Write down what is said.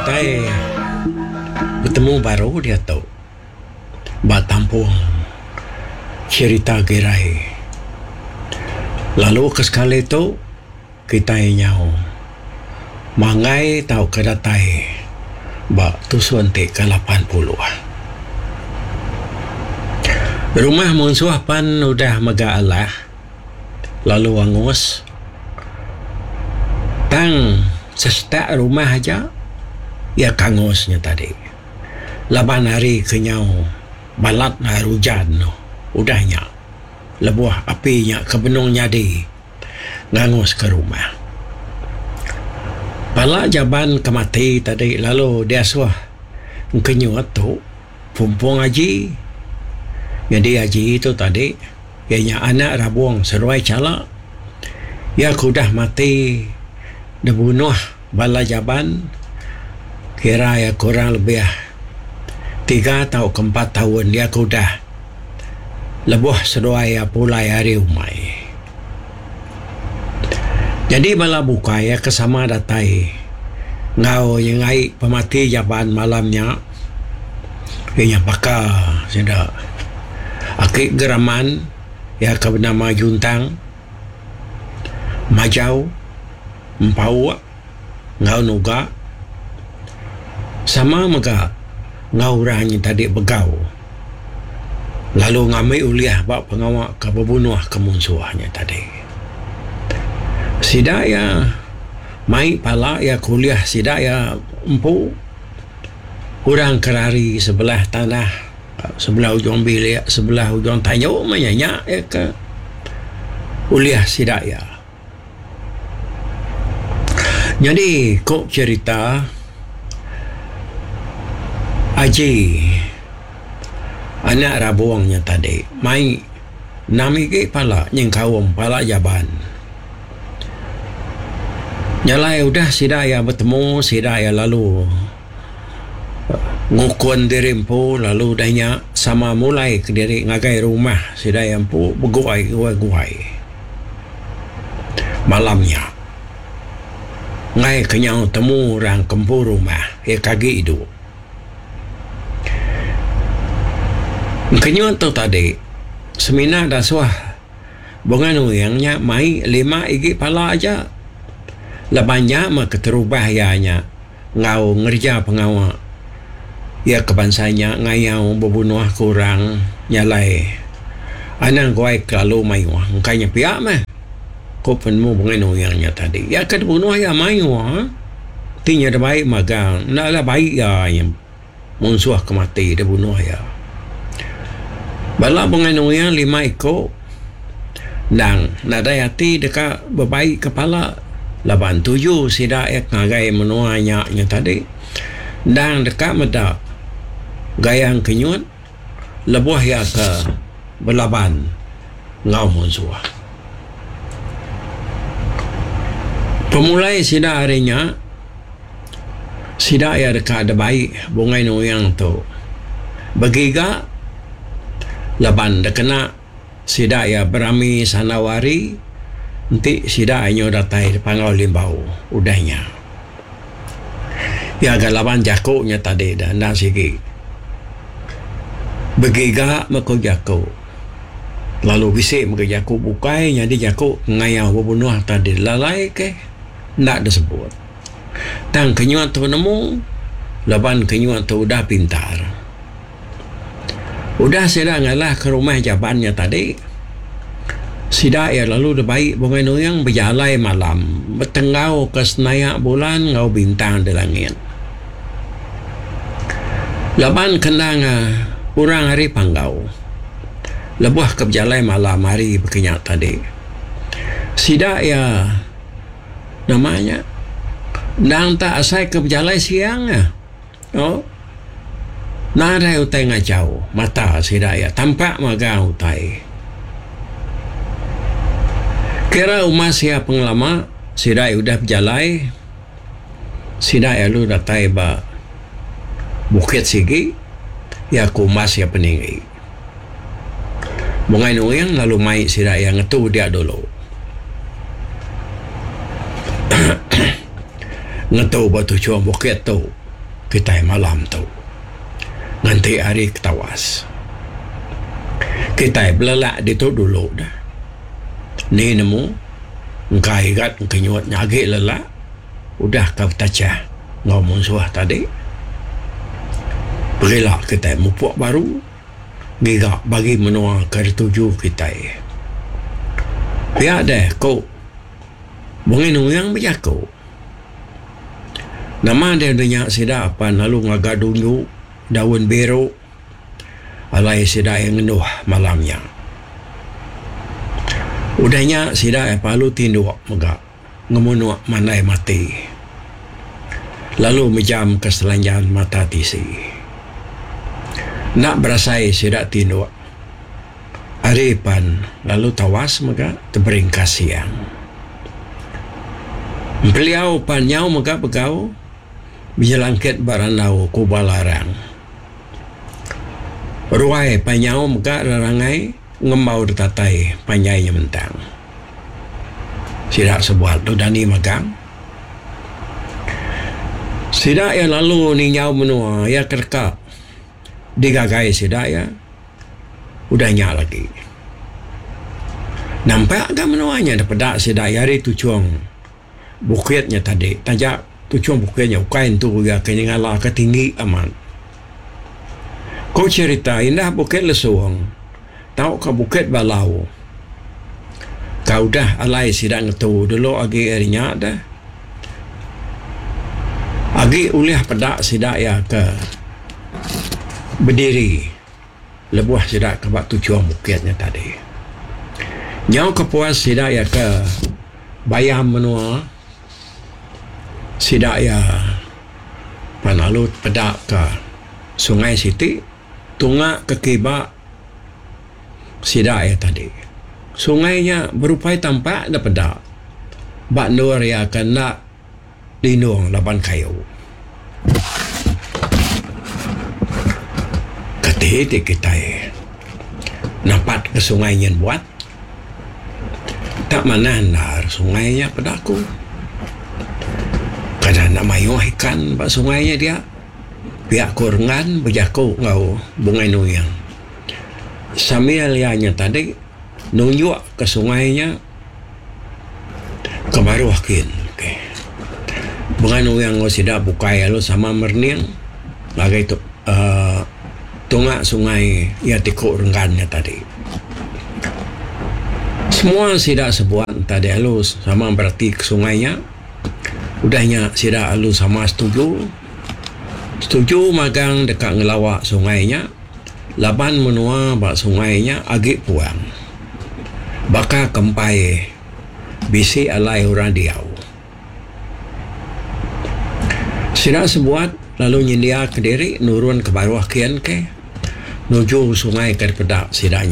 kitai betemu baru diatu ba tampung cherita Girai. Lalu ke sekali tu kitai nyau manggai tauka datai ba tusun ti ke 80. Rumah munsuh pan udah mega alah lalu angus tang sesetak rumah aja iya ke angus nya tadi laban hari ke nyau balat hari ujan udah nya lebuh api nya ke benung nyadi ngangus ke rumah. Pala jaban ke mati tadi lalu diasuh engkenyut tu Pumpung Aji. Nyadi Aji tu tadi iya nya anak Rabong seduai Chala. Iya ke udah mati dibunuh bala jaban kira iya kurang lebih tiga tauka empat taun iya ke udah lebuh seduai iya pulai ari umai. Nyadi bala bukai iya ke sama datai enggau nyengai pemati jaban malam nya iya nya baka sida aki Geraman iya ke benama Juntang, Majau, Empauk enggau Nuga sama mega enggau orang nya tadi begau lalu ngambi ulih ba pengawa ke bebunuh ke munsuh nya tadi. Sida iya mai pala iya ke ulih sida iya empu orang ke rari sebelah tanah sebelah ujung bilik sebelah ujung tanju meh nya nya iya ke ulih sida iya. Nyadi ku cherita Aji anak Rabong nya tadi mai enam igi pala nyengkaum pala Jaban. Nya alai udah sida iya betemu sida iya lalu ngukun diri empu lalu udah nya sama mulai kediri ngagai rumah sida iya empu beguai guai. Malam nya, enggai ke nyau temu orang ke empu rumah iya ke agi idup. Engkenyut tu tadi semina dasuh Bunga Nuing nya mai lima igi pala aja laban nya meh keterubah iya nya enggau ngereja pengawa iya ke bansa nya ngayau bebunuh ke orang nya alai anang guai kelalu mayuh engka nya pia meh ku penemu Bungai Nuing nya tadi. Iya ke dibunuh iya mayuh ti nya dibai magang enda lah bai iya nya. Munsuh ke mati dibunuh iya. Bala Bungai Nuing lima iku endang nadai ati deka bebai ke pala laban tuju sida iya ke ngagai menua nya nya tadi endang deka meda Gayang Kenyut lebuh iya ke belaban enggau munsuh. Pemulai sida ari nya. Sida iya deka dibai Bungai Nuing tu begiga laban dikena sida iya berami sandau hari enti sida iya nyau datai di Panggau Limbau udah nya. Iya ga laban jaku nya tadi da enda sigi begiga meh ku jaku lalu bisi mega jaku bukai nyadi jaku ngayau bebunuh tadi lalai ke enda disebut. Tang kenyuh tu nemu laban kenyuh tu udah pintar. Udah sida ngalahka rumah jaban nya tadi, sida iya lalu dibai Bungai Nuing bejalai malam betenggauka senayak bulan enggau bintang di langit. Laban ke endang orang ari Panggau lebuh ke bejalai malam hari baka nya tadi, sida iya. Nama nya endang tak asai ke bejalai siang ah. Oh. Nadai utai ngachau mata sida iya tampak magang utai. Kira umas iya pengelama sida iya udah bejalai sida iya lalu datai ba bukit sigi iya ke umas iya peninggi. Bungai Nuing lalu mai sida iya ngetu dia dulu. Ngetu ba tuchung bukit tu. kitai malam tu. Nganti hari ke tawas. Kitai belelak ditu dulu dah. Ni nemu engka igat engkenyut nya agi lelak udah ka betachah enggau munsuh tadi. Pegila kitai mupuk baru ngiga bagi menua ke dituju kitai. Pia deh ku Bungai Nuing bejaku. Nama deh udah nya sida pan lalu ngaga dunju daun biru alai sida iya ngenduh malam nya. Udah nya sida iya lalu tinduk mega ngemunuk mandai mati lalu mejamka selanjan mata tisi. Enda berasai sida tinduk hari pan lalu tawas mega teberingkas siang. Empeliau pan nyau mega begau bejelangkit ba randau kuba larang. Ruai pan nyau mega rerangai ngembau ditatai panjai nyementang. Sida sebuat tu dani magang. Sida iya lalu ninjau menua iya ke deka digagai sida iya. Udah nya lagi. Nampak ga menua nya dipeda sida iya ari tuchung bukit nya tadi taja tuchung bukit nya ukai entu iya ke nyengala ke tinggi amat. Ku cherita indah Bukit Lesung tauka Bukit Balau ka udah alai sida ngetu dulu agi ari nya deh agi ulih peda sida iya ke bediri. Lebuh sida ke ba tuchung bukit nya tadi. Nyau ke puas sida iya ke bayam menua sida iya pan lalu tepeda ka sungai siti tunga ke kiba sida iya tadi. Sungai nya berupai tampak da peda ba endur iya ke enda Lindung laban kayu. Kati ti kitai napat ke sungai nyin buat tak manah endar sungai nya peda aku. Kada enda mayuh ikan ba sungai nya dia pia ku Renggan bejaku enggau Bungai Nuing. Sambil iya nya tadi nunjuk ke sungai nya. Ke baruh kin okay. Bengan orang enggau sida bukai lalu sama merening ngagai tu uhh tunga sungai iya ti ku Renggan nya tadi. Semua sida sebuat tadi lalu sama berati ke sungai nya. Udah nya sida lalu sama setuju. Setuju magang deka ngelawa sungai nya laban menua ba sungai nya agi puang. Baka ke empai bisi alai orang diau. Sida sebuat lalu nyendiaka diri nurun ke baruh kin ke nuju sungai ke dipeda sida nya.